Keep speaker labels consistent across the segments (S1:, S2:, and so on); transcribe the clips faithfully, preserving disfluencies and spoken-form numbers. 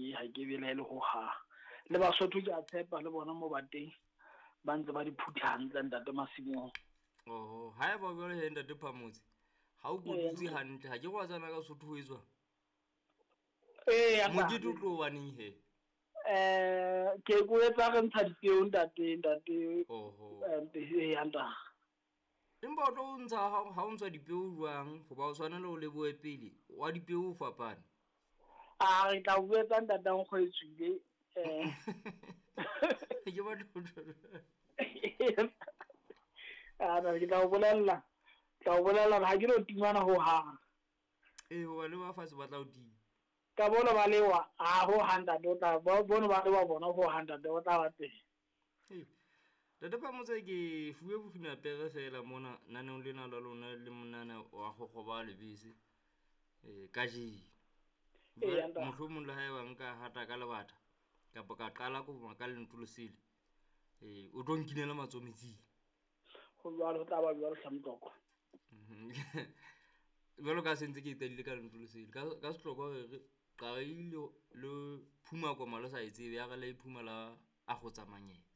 S1: ke ha ke belaele ho hang. Le Basotho ke a tshepa le bona mo ba teng ba ntse ba di phutha hantle ntate masimong.
S2: Oho, haeba jwale he ntate Phamotse, ha o kotutse hantle, ha ke re wa tsana ka Sotho ho etswang?
S1: Ee,
S2: Mokete o tlo baneng he?
S1: Eh, ke ko etsa re ntsha dipeo ntate ntate.
S2: Oho.
S1: Eh, ya ntate.
S2: Empa o tlo ntsha ha ha o ntsha dipeo jwang? Hoba o tshwanela o lebohe pele. Wa dipeo o fapane.
S1: A re tla o etsa ntate nkgo e tswile. Eh.
S2: Ke batla
S1: A na ke tla o bolella. Tla o bolella ha ke no timana ho hang.
S2: Eh, hoba le ba fatshe ba tla o tima.
S1: Ka bona ba lewa, a ho hang ntate o tla bona ba lewa bona ho hang ntate o tla ba teng.
S2: Eh. Ntate Phamotse ke fuwe bofina pere fela mona naneong lena la lona le monana wa kgokgoba lebese. Eh, kajeno.
S1: Ee, ntate.
S2: Mohlomong le haeba nka hata ka lebata kapa ka qala ko ka lentswe le sele. Eh, o tlo nkinela matsoho metsing.
S1: Ho jwalo, ho tla ba jwalo hle Motlokwa.
S2: Jwalo ka se ntse ke qadile ka lentswe le sele. Ka ka sehlokwa re re qale le phuma koma le sa e tsebe ya re le iphuma la a go tsamanyetsa.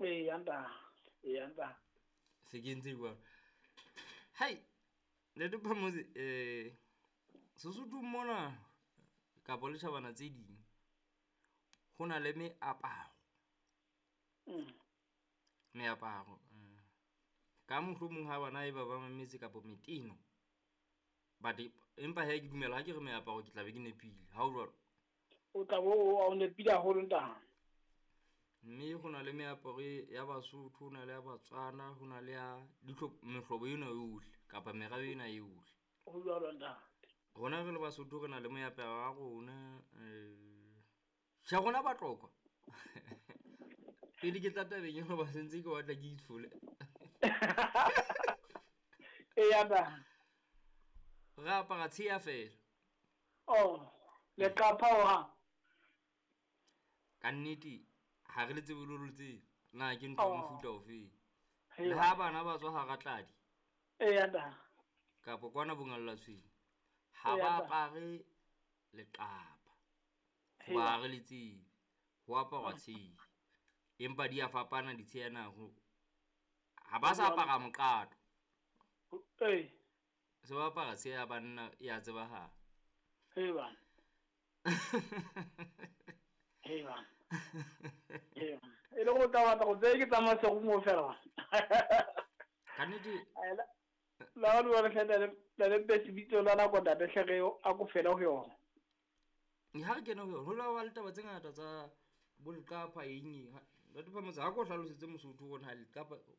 S1: Ee, ntate. Ee, ntate.
S2: Se ke ntse jwalo. Hai, Ntate Phamotse, eh Sesotho mona kapa le tjhabana tse ding ho na le meaparo.
S1: Mm.
S2: Meaparo. Eh, ka mohlomong ha bana e ba ba mametse kapa meteno. But empa he ke dumela ha ke re meaparo ke tla be ke nepile. Ha o jwalo?
S1: O tla bo o nepile haholo ntate.
S2: Mme ho na le meaparo ya Basotho, ho na le ya Batswana, ho na le ya mehlobo ena yohle kapa merabe ena yohle.
S1: Ho jwalo ntate.
S2: Rona re le Basotho re na le moaparo wa rona, eh tjhe rona Batlokwa. Pele ke tla tabeng eo ba sentse ke batla ke itshole.
S1: Ee, ntate.
S2: Re apara tsheya fela.
S1: Oh, leqapha ho hang.
S2: Ka nnete ha re le tsebe le le tsebe na ke ntho ya mofuta ofe.
S1: Hei
S2: Le ha bana ba tswa hara tladi.
S1: Ee, ntate.
S2: Kapa kwana bongalla tshwene. Ha
S1: Ee,
S2: ba
S1: ntate.
S2: apare leqapha.
S1: Hei
S2: Hoba ha re le tsebe. Ho aparwa tsheya. Empa di a fapana ditsheya na ho. Ha ba sa apara moqato.
S1: Ee.
S2: Se ba apara tsheya ya banna e a tsebahala.
S1: Hei bana. Hei bana. Hei bana. E le go tla batla go tseye ke tsamaya serumo fela bana.
S2: Ka nnete.
S1: La o le hle le le le bitso la nako ntate hle re a ko fela ho yona.
S2: Ha re kene ho yona, ho la ba le taba tse ngata tsa bo leqapha eng eng. Ntate Phamotse ha ko hlalosetse Mosotho hore na leqapha ko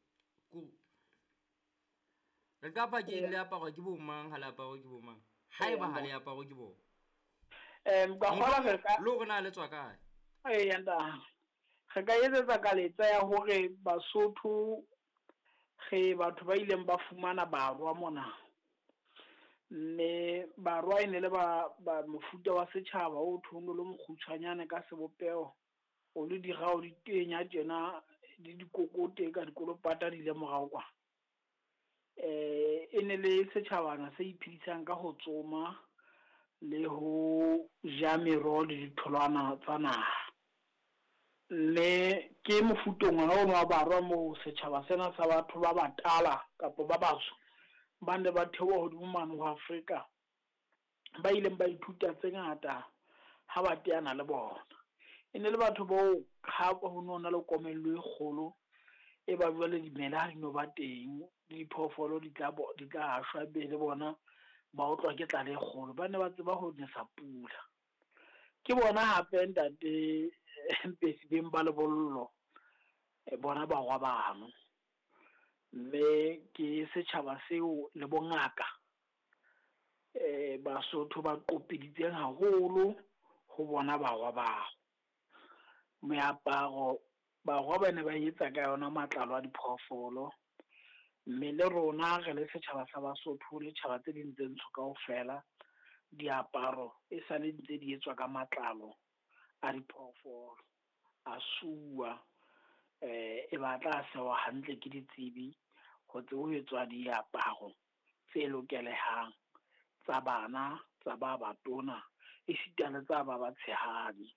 S2: leqapha ke eng, le aparwa ke bo mang, ha le aparwe ke bo mang? Haeba ha le aparwe ke bona.
S1: Em ka kgola re ka
S2: Le hore na le tswa kae?
S1: Ee, ntate. Re ka etsetsa kaletsa ya hore Basotho re batho ba ileng ba fumana barwa mona. Mme barwa e ne le ba, ba mofuta wa setjhaba o thono le mokgutshwanyane ka sebopeho, o le dirao di tenya tjena di dikokote ka dikolopata di ile morao kwa. Eh, e ne le setjhabana se iphedisang ka ho tsoma le ho ja meroho le ditholwana tsa naha. Mme ke mofutong ona ono wa barwa moo setjhaba sena sa batho ba batala kapa ba batsho ba ne ba theoha hodimo mane ho Afrika, ba ileng ba ithuta tse ngata ha ba teana le bona. E ne le batho bao ha ho no na le komello e kgolo e ba jwale dimela ha di no ba teng, le diphoofolo di tla bo, di tla shwa be le bona ba otlwa ke tlala e kgolo. Ba ne ba tseba ho nesa pula. Ke bona hape ntate Mpesi beng ba lebollo, bona barwa bano. Mme ke setjhaba seo le bongaka eh Basotho ba qopiditseng haholo ho bona barwa bao. Meaparo barwa ba ne ba etsa ka yona matlalo a diphoofolo. Mme le rona re le setjhaba sa Basotho le tjhaba tse ding tse ntsho kaofela, diaparo e sale ntse di etswa ka matlalo a diphoofolo, a suwa, eh e batla sewa hantle ke ditsebi ho tsebe ho etswa diaparo tse lokelehang tsa bana, tsa ba batona, esita le tsa ba batshehadi.